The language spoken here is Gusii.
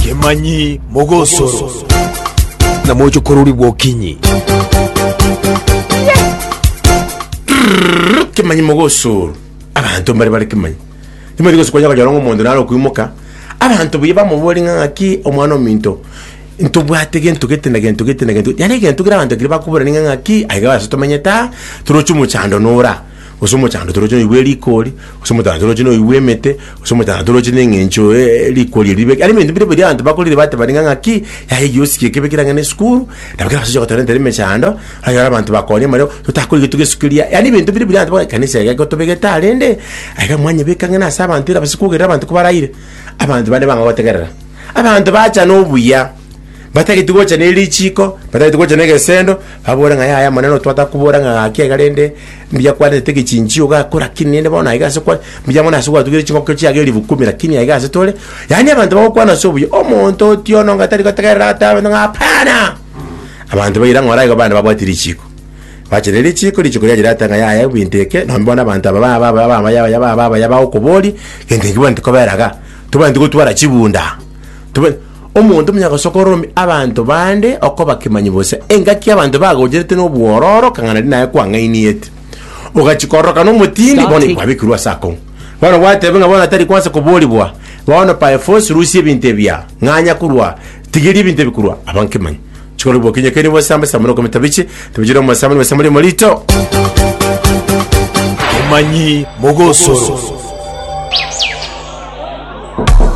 Kemanyi mogosoro na mochokorori bwokinyi. Kemanyi mogosoro abanto mbare bare kemanyi timanyeti gose kwanya konyora ng'a omonto nare okoimoka abanto buya bamoborie ng'a ng'aki omwana ominto ntobwate gento gete na gento gete na gento gete yaani egento kere abanto ekero bakoborania ng'a ng'aki aiga ase tomenyete aa toroche omochando nora. Gose omochando toroche noigwe erikori, gose omochando toroche noigwe emete, gose omochando toroche na eng'encho rikori eri ribeke. Yaani ebinto bire biria abanto bakorire batebani ng'a ng'aki, yaya egiosi eke kebekire ang'e na esukuru, nabo kera ase ogotorentera emechando, okonyora abanto bakoonia amariogo, totakorigia togesukeria, yaani ebinto bire biria abanto bagotebi ekanisa eye egotobegete aa rende, aiga mwanyebeka ang'e nase abanto ere abase kogerera abanto kobaraire. Abanto bande bang'a gotegerera. Abanto bacha na obuya. Batageti gocha ne richiiko, batageti gocha negesendo, babore ng'a yaya Omonene otwatakobora ng'a gaki iga rende mbuya kwarentete egechinchio gakora lakini rende bono aiga ase kwa mbuya mono ase gwatugire chingoko chiago elifu kumi lakini aiga ase tore, yaani abanto bagokwana ase obuya, omonto otiono onga tari gotegerera agotebi abanto ng'a hapana! Abanto baira ng'ora igo bande babwati richiiko. Bache ne richiiko, richiiko riaye riateba ng'a yaya ebinto eke, nonye bono abanto aba ba ba ba abaya abaya ba abaya bagokoboria, gento eke bwaneti kobera iga, tobwenereti gotwara chibunda, tobe. Omonto omuya gose okorora abanto bande okoba kemanyi bosa, engaki abanto bagocherete nobwororo kang'ana riria naye kwang'ainiete. Ogachia kororokana omotindi, bono kwabekirwe ase akong'u. Bono gwateba ng'a bono tari kwansa koborigwa, bono by force rusia ebinto ebi aa, ng'anya korwa, tigeria ebinto ebi korwa aba nkemanyi. Chikoro bwokinye keri bosambe samura okomita bichi, tibichire omosambe nobosambe morito. Kemanyi mogosoro.